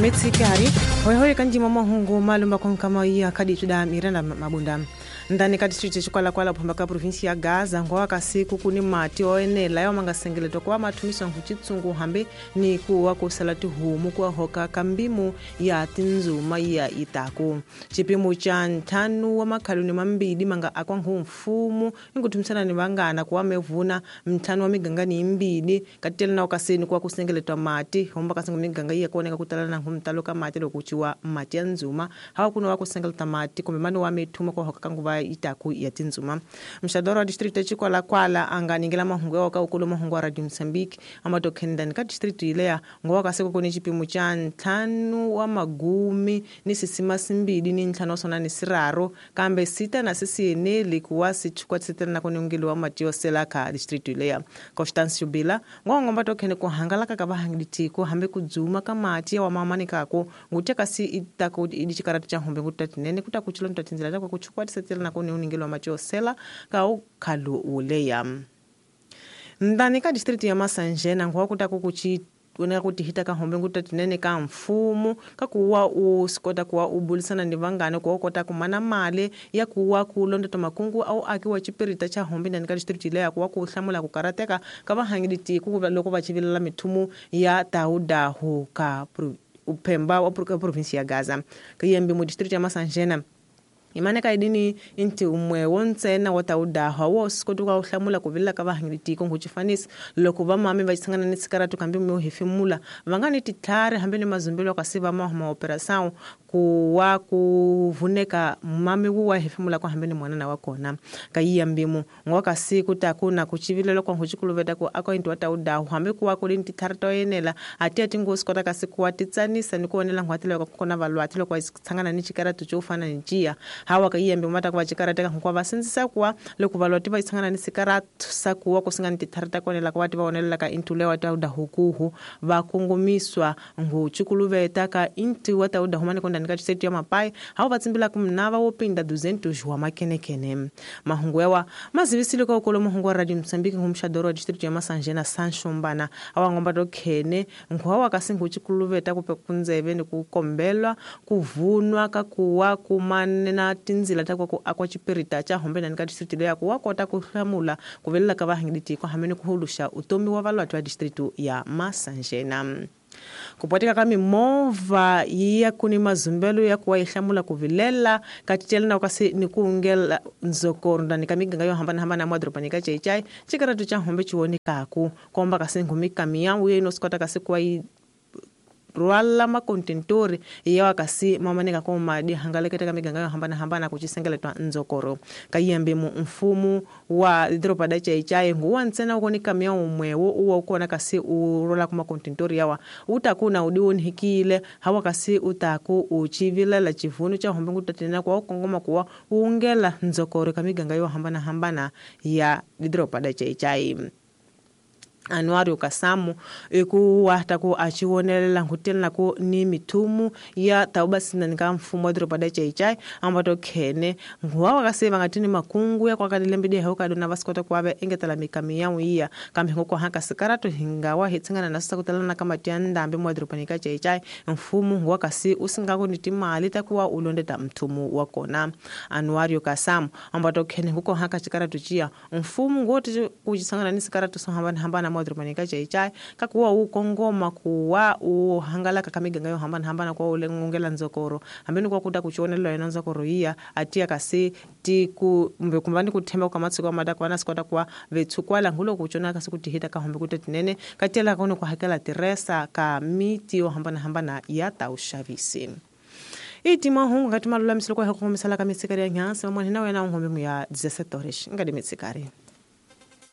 Mitsikari hoihoyi kanjima mahungu malumba konkama iya kaditu da Miranda Mabunda ndani ka distrito Chikwalakwala phomba ka provinsi ya Gaza ngowa kasiku kuni mati oenela yawa mangasengeletwa kuwa mathumiswa nkuchitsungu hambe ni kuwa kusala tihumu kuwa hoka kambimu ya tinzuma ya itaku chipimo cha nthanu wa makhaluni mambili manga akwa mfumu inkuthumisana ni vangana kuwa mevuna mthanu wa miganga ni imbili katitela na ukasini kuwa kusengeletwa mati homba kasingu miganga iya kuoneka kutala na nkhumtalo ka mati lokuchiwa mati ya nzuma hawa kuno wa kusengeleta mati kumbe mani wa methuma kuwa hoka kanguva itaku ya tinzuma mxadoro wa distrito Chikwalakwala anganingela mahungu yawo ka ukulu mahungu wa Radio Mozambique amatokhendani ka distrito ileya ngowa kaseko kuni chipimo cha ntlhanu wa magumi ni sisima simbili ni ntlhanu wa ni siraro kambe sita na sisieneli kuwa sichukwatisitela na kunongeliwa mati yosela ka distrito ileya Constance Bila ngowa ngomba tokhene kuhangalaka ka vahangilitiko hambe kudzuma ka mati ya wamamani kako ngutia kasi itaku idichikaratu cha hombe ngutatinene kutakuchilo ntatinzela takwa kuchukwatisitela na kuni uningeliwa mati yosela ka ukhalu uleya ndani ka distrito ya Masanjena ngowa kutaku kuchi uneka kutihita ka hombe ngutatinene ka mfumu kakuwa usikota kuwa ubulisana ni vangane kuwa ukota kumana mali ya kuwa kulonda makungu au akiwa chipirita cha hombe ndani ka district ile ya kuwa kuhlamula kukarateka ka vahangiliti ku loko va chivilela mithumu ya taudahu ka uphemba wa provinsi ya Gaza kayembe mu district ya Masanjena imane kaidini inti umwe wontsena wa taudaha wo sikoti ka uhlamula ku vilela ka vahangilitiko nkuchifanisa loko vamami va xisangana ni sikaratu kambe mi hefemula va nga ni titlhari hambi ni mazumbelo kasi va mahuma operação ku wa ku vuneka mami wu wa hefemula kwa hambi ni mwanana wa kona ka iya mbimu ngowa kasi ku na kuchivilela kwa nkuchikuluveta ku akwa inti wa taudahu hambi ku wa ku li titlhari to yenela ati ati ngo sikota kasi ku wa titsanisa ni ku onela nghwatela loko kona valwati loko va tshangana ni xikaratu xo fana ni ciya hawa ka iyembe mata kwa chikarata ka kwa vasindzisa kuwa loko valwati va tshangana ni sikaratu sakuwa kusingana titlhari ta konela kwa va onelela ka intule wa taudahu kuhu va kongomiswa nguchikuluveta ka inti wa taudahu mani kondani ka tshetu ya mapai hawo va tsimbila ku mnava wo pinda 200 wa makenekene mahungu yawa mazivisile ka ukolo mahungu wa Radio Mozambique ngumxadoro wa district ya Masanjena Sanshombana awa ngomba to khene nkhuwa kasi nguchikuluveta kupe kundzeve ni ku kombelwa ku vunwa ka kuwa kumanena tinzila ta ku akwa chipirita cha hombe ndani ka district leya ku wa kota ku hlamula ku velela ka vahangilitiko hambi ni ku huluxa utomi wa valwati wa district ya Masanjena kupwatika ka mimovha ya kuni mazumbelo ya kuwa ihlamula ku vilela katitela na kasi ni kuungela nzokoro ndani ka miganga yo hambanahambana mwadorobani ka Chaichai chikaratu cha hombe chiwonekaku komba kasi nghumi kamiyawu ye inosikota kasi kuwa rwala makontentori yawa kasi mamaneka ko madi hangaleketa ka miganga yo hambanahambana kuchisengeletwa nzokoro kayembe mu mfumu wa doroba da Chaichai nguwa ntsena ukoni kamya umwewo uwa ukona kasi urola kuma kontentori yawa utakuna udiwonhikile hawa kasi utaku uchivilela chivunu cha hombe ngutatina kwa ukongoma kuwa uungela nzokoro ka miganga yo hambanahambana ya doroba da Chaichai Anuario Kasamu ikuwa taku achiwonelela nkutela ku ni mithumu ya taubasina nika mfumo wa doroba da Chaichai ambato khene nguwa wakase vangatini makungu ya kwakadilembe hauka dona vasikota kuave engetela mikami yawu iya kambe ngoko haka sikaratu hingawa hitsingana na sakutelana kama tiandambe mwa doroba nika Chaichai mfumo nguwa kasi usingako ni timali takuwa ulondeta mthumu wa kona Anuario Kasamu ambato khene ngoko haka chikaratu chia mfumo ngoti kuchisangana ni sikaratu sohambana hambana mwadrobanika Chaichai kakuwa ukongoma kuwa uhangalaka kamiganga yo hambanahambana kwa ulengongela nzokoro hambeni kwa kuta kuchionela yena nzokoro iya atia kasi tiku mbe kumbani kuthemba kwa matsiko amada kwa nasikota kwa vetsukwala ngulo kuchona kasi kutihita ka hombe kutetinene katela kono kwa hakela teresa ka miti yo hambanahambana ya taushavisi iti mahungu kati malulamisilo kwa hukumisala ka mitsikari ya nyansi mamwana na wena unhombe mu ya 17 horas ngadi mitsikari.